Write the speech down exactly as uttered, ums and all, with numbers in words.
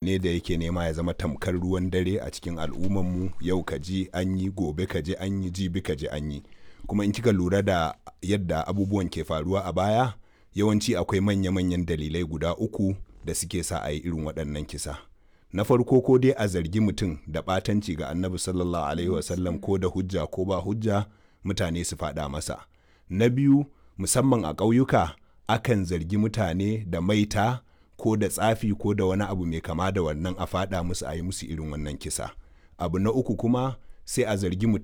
Ne da yake nema ya zama tamkar ruwan dare a cikin al'ummarmu. Yau ka ji an yi, gobe ka ji an yi, jibi ka ji an yi. Kuma in kika lura da yadda abubuwan ke faruwa a baya, yawanci akwai manya-manyan dalilai guda uku da suke sa a yi irin waɗannan kisa. Na farko, ko dai a zargi mutum da ɓatanci ga Annabi Sallallahu Alaihi Wasallam, ko da hujja ko ba hujja, mutane su faɗa masa. Na biyu, musamman a ƙauyuka, akan zargi mutane da maita ko da tsafi ko da wani abu mai kama da wannan, a faɗa musu a yi musu irin wannan kisa. Abu na uku kuma, sai a zargi mutum